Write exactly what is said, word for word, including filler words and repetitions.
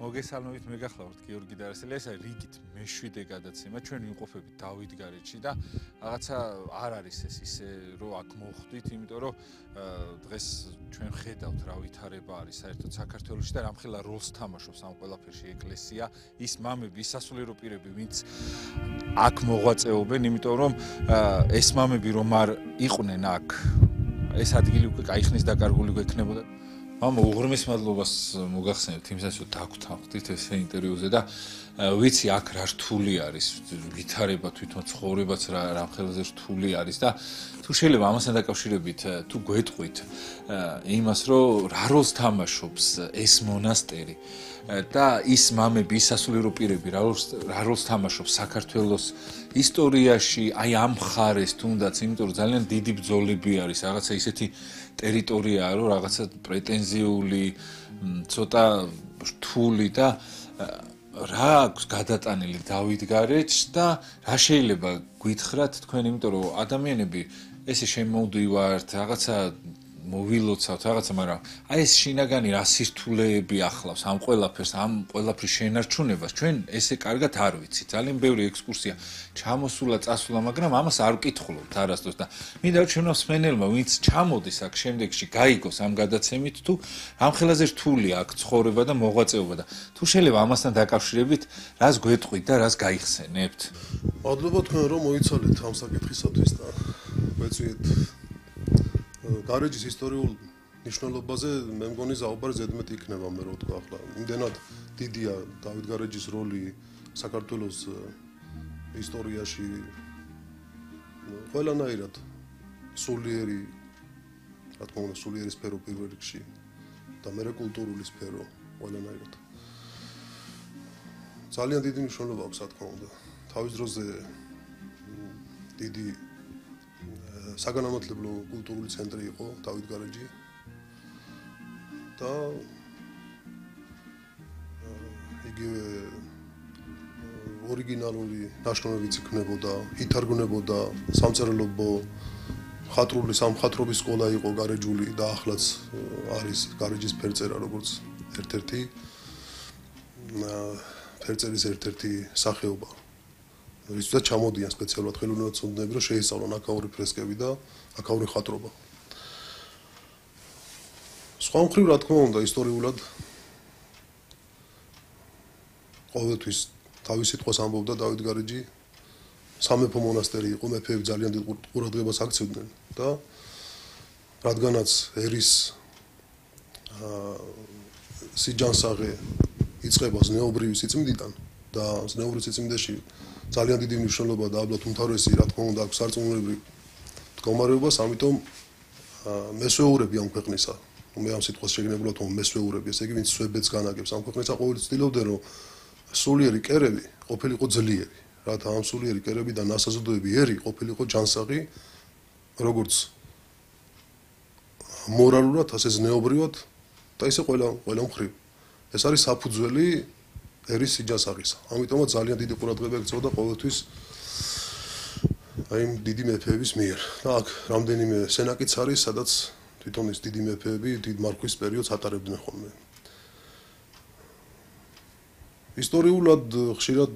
მოგესალმებით, მეგახლავართ გიორგი დარასელი. ეს არის რიგით მეშვიდე გადაცემა. ჩვენ ვიმყოფებით დავითგარეჯში და რაღაცა არ არის ეს ისე, რომ აქ მოხვდით, იმიტომ რომ დღეს ჩვენ ხედავთ რა ვითარება არის საერთოდ საქართველოში და რამხელა როლს თამაშობს ამ ყველაფერში ეკლესია, ის მამები, ის სასულიერო პირები, ვინც აქ მოღვაწეობენ, იმიტომ რომ ეს მამები რომ არ იყვნენ აქ, ეს ადგილი უკვე კაიხნის დაკარგული გვექნებოდა. Mama, უღრმეს მადლობას მოგახსენებთ იმასაც, რომ დაგვთანხმდით ეს ინტერვიუზე და ვიცი აქ რა რთული არის, ვითარება თვითონ ცხოვრებაც რა რამხელაზე რთული არის და თუ შეიძლება ამასთან დაკავშირებით თუ გვეტყვით იმას, რომ რა როლს თამაშობს ეს მონასტერი და ის მამები, ის სასულიერო პირები რა როლს რა როლს თამაშობს საქართველოს ისტორიაში, აი ამ მხარეს თუნდაც, იმიტომ რომ ძალიან დიდი ბრძოლები არის, რაღაცა ისეთი ტერიტორიაა, რომ რაღაცა პრეტენზიული, ცოტა რთული და რა აქვს გადატანილი დავითგარეჯს და რა შეიძლება გითხრათ თქვენ, იმიტომ რომ ადამიანები ესე შემოვდივართ, რაღაცა მოვილოცავთ რაღაცა, მაგრამ აი ეს შინაგანი რა სირთულეები ახლავს ამ ყველაფერს, ამ ყველაფრის შენარჩუნებას, ჩვენ ესე კარგად არ ვიცით. ძალიან ბევრი ექსკურსია ჩამოსულა, წასულა, მაგრამ ამას არ ვკითხულობთ არასდროს და მინდა რომ ჩვენო მსმენელმა, ვინც ჩამოდის აქ შემდეგში, გაიგოს ამ გადაცემით, თუ რამხელაზე რთული აქ ცხოვრება და მოღვაწეობა და თუ შეიძლება ამასთან დაკავშირებით, რას გვეტყვით და რას გაიხსენებთ. მადლობა თქვენ რომ მოიცალეთ ამ საკითხისათვის და გვეწვიეთ გარეჯის ისტორიულ ნიშნულობაზე მე მგონი საუბარი ზედმეტი იქნება მე რო თქვა ახლა. იმდენად დიდია დავითგარეჯის როლი საქართველოს ისტორიაში ყველანაირად სულიერი, რა თქმა უნდა, სულიერი სფერო პირველ რიგში და მერე კულტურული სფერო ყველანაირად. ძალიან დიდი მნიშვნელობა აქვს, რა თქმა უნდა. თავის დროზე დიდი საგანმანათლებლო კულტურული ცენტრი იყო დავითგარეჯი და იგივე ორიგინალური ნაშრომებიც იქნებოდა, ითარგმნებოდა სამწერლობო ხატრული სამხატვრობის სკოლა იყო გარეჯული და ახლაც არის გარეჯის ფერწერა როგორც ერთ-ერთი ფერწერის ერთ-ერთი სახეობა. Ვისაც ჩამოდიან სპეციალურად ხელოვნებაცნებები, რომ შეისწავლონ აქაური ფრესკები და აქაური ხატრობა. სხვა მხრივ, რა თქმა უნდა, ისტორიულად ყოველთვის თავის სიტყვას ამბობდა დავითგარეჯი, სამეფო მონასტერი იყო, მეფეები ძალიან დიდ ყურადღებას აქცევდნენ და რადგანაც ერის სიჯანსაღე იწყება ზნეობრივი სიწმინდიდან და ზნეობრივ სიწმინდეში ძალიან დიდი მნიშვნელობა და ალბათ უმთავრესი, რა თქმა უნდა, აქვს სარწმუნოებრივ მდგომარეობას, ამიტომ მესვეურები ამ ქვეყნისა, მე ამ სიტყვას შეგნებულად ვამბობ მესვეურები, ესე იგი, ვინც სვებეთს განაგებს ამ ქვეყნისა, ყოველთვის ცდილობდნენ, რომ სულიერი კერები ყოფილიყო ძლიერი, რათა ამ სულიერი კერები და ნასაზრდოები ერი ყოფილიყო ჯანსაღი, როგორც მორალურად, ასე ზნეობრივად და ისე ყველა ყველა მხრივ. ეს არის საფუძველი ერის სიჯანსაღისა. ამიტომაც ძალიან დიდი ყურადღება ექცეოდა ყოველთვის აი დიდი მეფეების მიერ. და აქ რამდენიმე სენაკიც არის, სადაც თვითონ ეს დიდი მეფეები დიდ მარხვის პერიოდს ატარებდნენ ხოლმე. ისტორიულად ხშირად